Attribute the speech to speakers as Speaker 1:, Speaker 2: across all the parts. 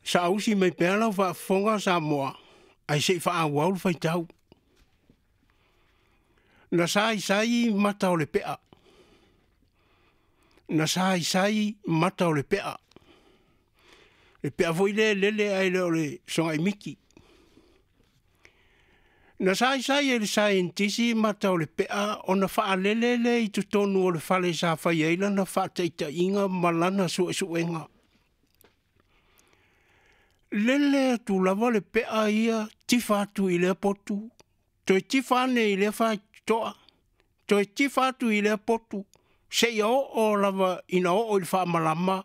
Speaker 1: Saausi mai pea lau faafofoga Samoa ae se i faaauau le faitau. Na saisai mata o le pea. Na saisai mata o le pea. Le pea foi lea e lele ae le o le sogaimiti. Na saisai e le saienitisi mata o le pea ona faalele lea i totonu o le fale sa fai ai lana faataitaiga ma lana suesuega. Lele atu lava le pea ia tifa atu i lea potu, toe tifa ane i lea faitotoa, toe tifa atu i lea potu, seia oo lava ina oo i le faamalama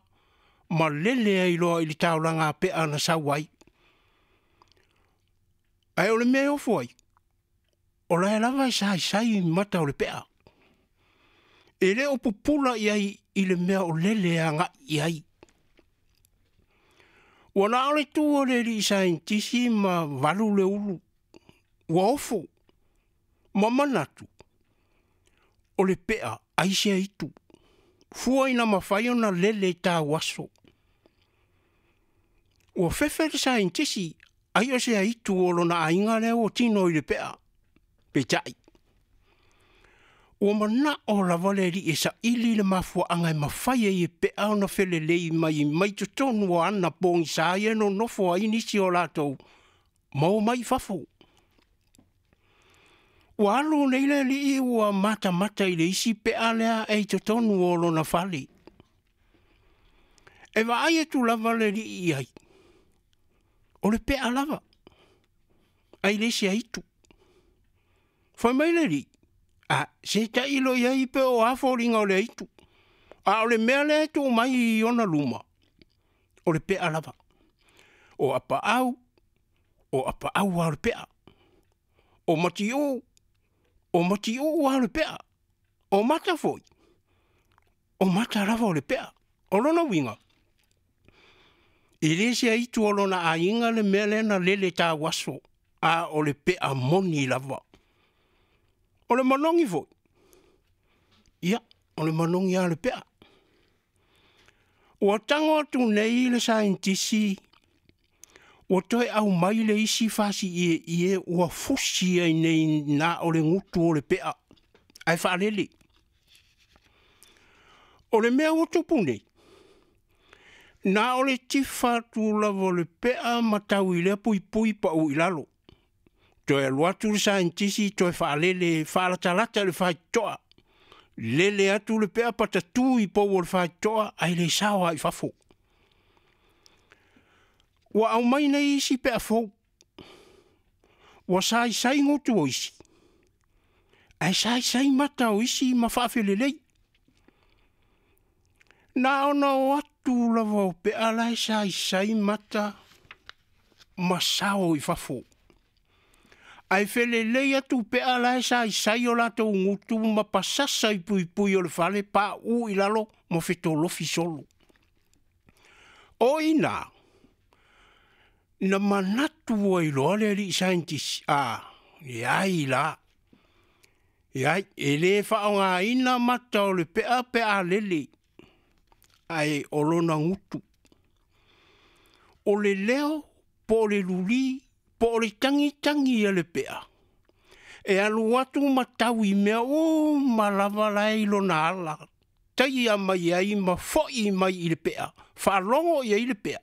Speaker 1: ma lele ai loa i le taulaga a pea na sau ai. Ae o le mea e ofo ai, o la e lava e saisai mata o le pea. E le o pupula i ai i le mea o lele agai i ai. Ua na o le tu o le alii saienitisi ma valu le ulu, ua ofo ma manatu, o le pea ai sea itu, fua ina mafai ona lele tauaso. Ua fefe le saienitisi, ai o se aitu o lona aiga lea ua tino i le pea. Peitai, ua manao lava le alii e saili le mafuaaga e mafai ai e pea ona felelei mai mai totonu o ana pogisa ia e nonofo ai nisi o latou ma omai i fafo. Ua alu nei le alii ua matamata i le isi pea lea e i totonu o lona fale. E vaai atu lava le alii i ai, o le pea lava, ae le se aitu. Fai mai le alii, a, se tailo i ai pe o a foliga o le aitu, a o le mea lea e tuu mai i ona luma, o le pea lava. O apaau, o apaau lava o le pea. O matiuu, o matiuu lava o le pea. O mata foi, o mata lava o le pea. O lona uiga, e le se aitu o lona aiga le mea lea na lele tauaso, a o le pea moni lava. O le manogi foi, ia, o le manogi lava o le pea. Ua tago atu nei le saienitisi ua toe aumai le isi fasi ieie ua fusi ai nei na o le gutu o le pea ae faalele. O le mea ua tupu nei, na o le tifa atu lava o le pea ma tau i lea puipui pau i lalo. Toe alu atu le saienitisi toe faalele faalatalata i le faitotoa. Lele atu le pea patatu i pou o le faitotoa ae le sao lava i fafo. Ua aumai nei isi pea fou, ua saisai gutu o isi, ae saisai mata o isi ma faafelelei. Na ona o atu lava o pea la e saisai mata ma sao i fafo. Ae felelei atu pea la e saisai o latou gutu ma pasasa i puipui o le fale, pauu i lalo ma fetolofi solo. O i ina, na manatu ai loa le alii saienitisi, a, leai la, leai, e le faaaogaina mata o le pea pe a lele, ae o lona gutu. O le leo po o le luli po o le tagitagi a le pea, e alu atu ma tau i mea uma lava la e i lona ala, taia mai ai ma foi mai i le pea, faalogo i ai le pea,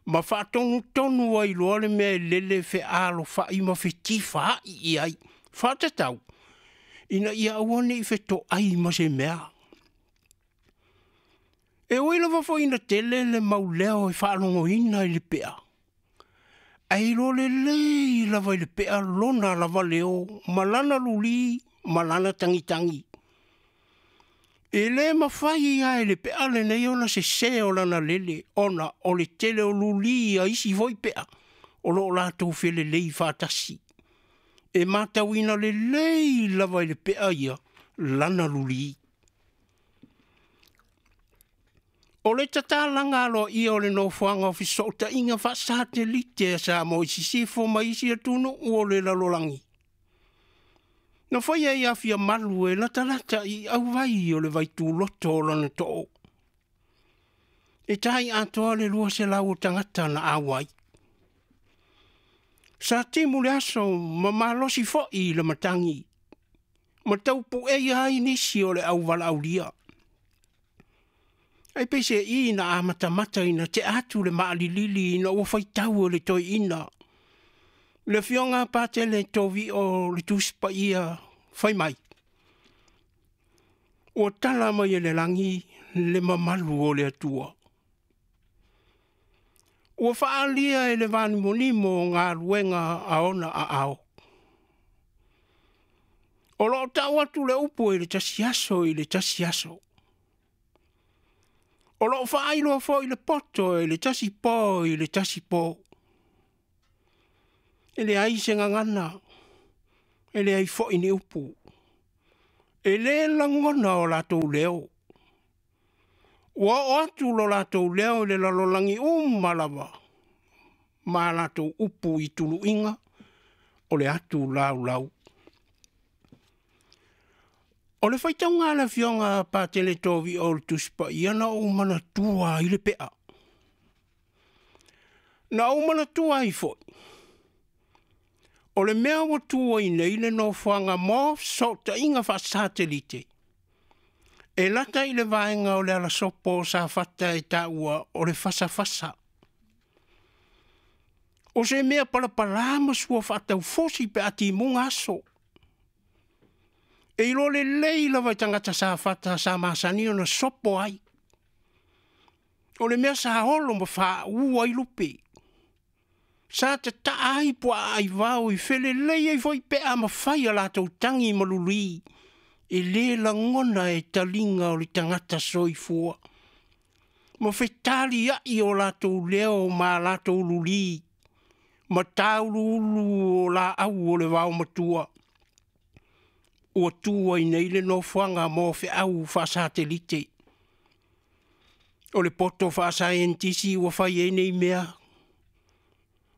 Speaker 1: ma faatonutonu ai loa le mea e lele fealofai ma fetifaai i ai, faatatau ina ia aua ne i fetoai ma se mea. E ui lava foi ina tele le mau leo e faalogoina i le pea, ae iloa lelei lava i le pea lona lava leo ma lana luli ma lana tagitagi. E le mafai lava e le pea lenei ona sese o lana lele, ona o le tele o luli a isi foi pea o lo o latou felelei faatasi. E matauina lelei lava e le pea ia lana luli. O le tatalaga aloaia o le nofoaga o fesootaiga faasatelite a Samoa i sisifo ma isi atunuu o le lalolagi, na faia i Afiamalu e latalata i auvai o le vaituloto o lona too. E tai atoa le 200 o tagata na auai. Sa timu le aso ma malosi fo'i i le matagi ma taupu'eia ai nisi o le auvalaaulia. Ae peiseai na amatamata ina tea atu le maalilili ina ua faitau e le toeaina le afioga a Patele Tovio le Tusi Paia fai mai, ua tala mai e le lagi le mamalu o le Atua. Ua faaalia e le vanimonimo galuega a ona aao. O lo o tau atu le upu i le tasi aso i le tasi aso. O lo o faailoa foi le poto i le tasi po i le tasi po. E leai se gagana, e leai foi ni upu. E lē lagona o latou leo. Ua oo atu lo latou leo i le lalolagi uma lava ma a latou upu i tuluiga o le atu laulau. O le faitauga a le afioga a Patele Tovio o le Tusi Paia na ou manatua ai le pea. Na ou manatua ai foi, o le mea ua tu ai nei le nofoaga mo fesootaiga faasatelite, e lata i le vaega o le alasopo o Safata e taua o le fasafasa. O se mea palapalā ma sua faataufusi pe a timuga aso. E iloa lelei lava e tagata Safata sa masani ona sopo ai. O le mea sa olo ma faauu ai lupe. Sa tataa ai puaa aivao i felelei ai foi pe a mafai a latou tagi ma lulī e lē lagona e taliga o le tagata soifua ma fetaliai o latou leo ma a latou lulī ma tauluulu o laau o le vaomatua ua tu ai nei le nofoaga mo feau faasatelite. O le poto faasaienitisi ua fai ai nei mea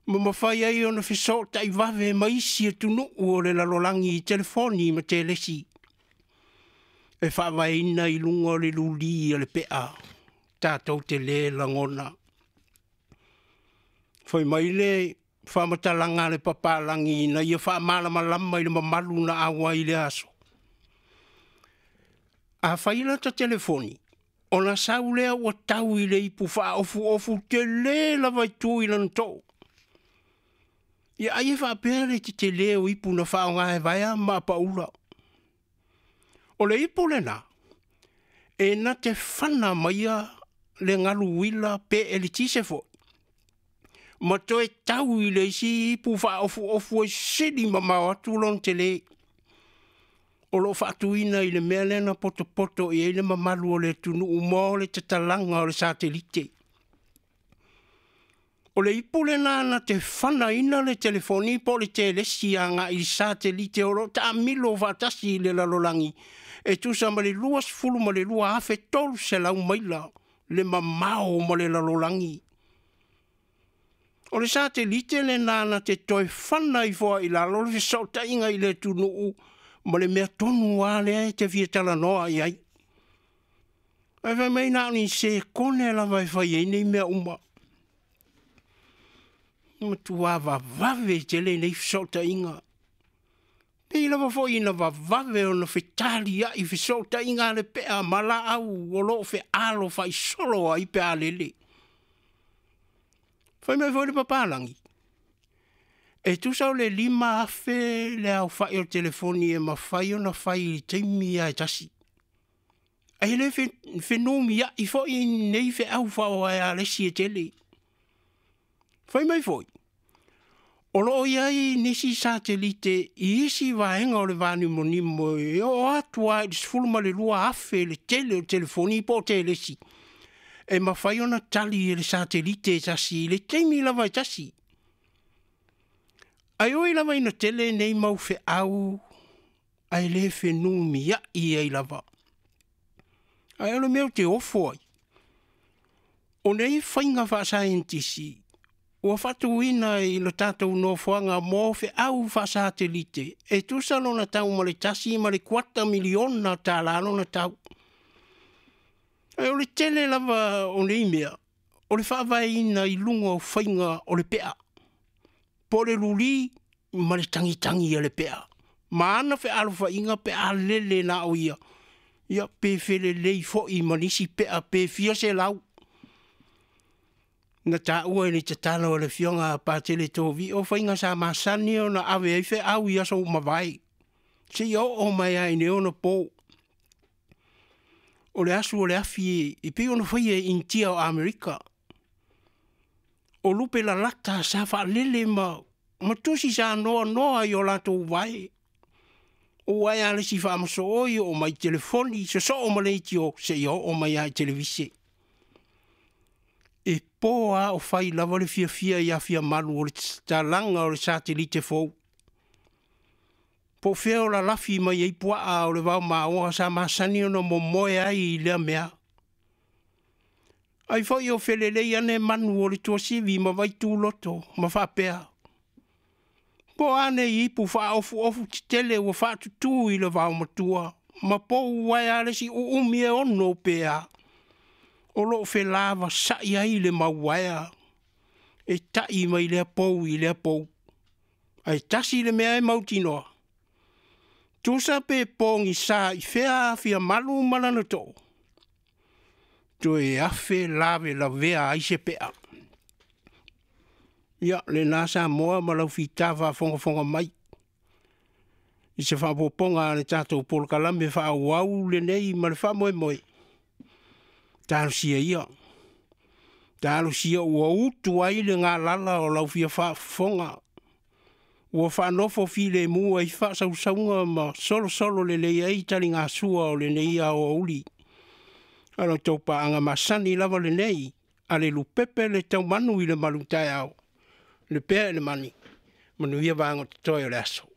Speaker 1: ma mafai ai ona fesootai vave ma isi atunuu o le lalolagi i telefoni ma telesi e faavaeina i luga o le lulī a le pea tatou te lē lagona. Fai mai le faamatalaga a le papalagi ina ia faamalamalama i le mamalu na auai i lea aso. Afai lata telefoni, ona sau lea ua tau i le ipu faaofuofu telē lava e tu i lana too. Ia ai e faapea le tetelē o ipu na faaaoga e vaea ma apaula. O le ipu lenā, e na te fana maia le galu uila pe eletise foi, ma toe tau i le isi ipu faaofuofu e sili mamao atu lona telē. O lo o faatuina i le mea lea na potopoto i ai le mamalu o le atunuu mo le tatalaga o le satelite. O le ipu lenā na te fanaina le telefoni po o le telesi agai i le satelite o lo o taamilo faatasi i le lalolagi e tusa ma le 22,300 maila le mamao ma le lalolagi. O le satelite lenā na te toe fana ifo ai i lalo le fesootaiga i le atunuu ma le mea tonu lava lea e te fia talanoa i ai. Ae fai mai na o ni sekone lava e fai ai nei mea uma. E matuā vavave tele nei fesootaiga. Pei lava foi ina vavave ona fetaliai fesootaiga a le pea ma laau o lo o fealofaisolo ai pe a lele. Fai mai foi le papalagi, e tusa o le 5,000 le aofa'i o le telefoni e mafai ona fai i le taimi lava e tasi. Ae le fenumia'i foi nei feau faa-oaealesi e tele. Fai mai foi, o lo o i ai nisi satelite i isi vaega o le vanimonimo e oo atu lava i le 12,000 le tele o telefoni po o telesi e mafai ona tali e le satelite e tasi i le taimi lava e tasi. Ae ui lava ina tele nei mau feau ae le fenumiai ai lava. Ae o le mea ou te ofo ai, o nei faiga faasaienitisi ua faatuina i lo tatou nofoaga mo feau faasatelite e tusa lona tau ma le 1.25 miliona tala lona tau. Ae o le tele lava o nei mea, o le faavaeina i luga o faiga o le pea, po o le luli ma le tagitagi a le pea, ma ana fealofaiga pe a lele na o ia, ia pe felelei foi ma nisi pea pe fia selau. Na taua i le tatalo a le afioga a Patele Tovio faiga sa masani ona ave ai feau i aso ua mavae, seia oo mai lava i nei ona po. O le asu o le afi e pei ona faia e Initia o Amerika. O lupe lalata sa faalele ma tusi sa noanoa i o latou vae. O uaea a le isi faamasooi, oo mai i telefoni, sosoo ma leitio seia oo mai lava i televise. E po lava o fai lava le fiafia ia Fiamalu o le tatalaga o le satelite fou. Po o fea o lalafi mai ai puaa o le vaomaoa sa masani ona momoe ai i lea mea. Ai foi o felelei ane manu o le tuasivi ma Vaituloto ma faapea, po o a nei ipu faaofuofu tetele ua faatutu i le vaomatua ma pou uaea le isi uumi e 6 pe a, o lo o felavasai ai le mau uaea e tai mai lea pou i lea pou. Ae tasi le mea e mautinoa, tusa pe pogisa i fea Fiamalu ma lana too, toe afe lavelavea ai se pea. Ia, lena Samoa ma lau fita faafogafoga mai i se faaopoopoga a le tatou polokalame faaauau lenei ma le faamoemoe, talosia ia, talosia ua utu ai le galala o lau fia faafofoga, ua faanofo filemu ai faasausauga ma solosolo lelei ai taligasua o lenei aoauli. A lo outou paaga masani lava lenei, a le lupepe le taumanu i le malutaeao, le pea i le mani, manuia vaega o totoe o le aso.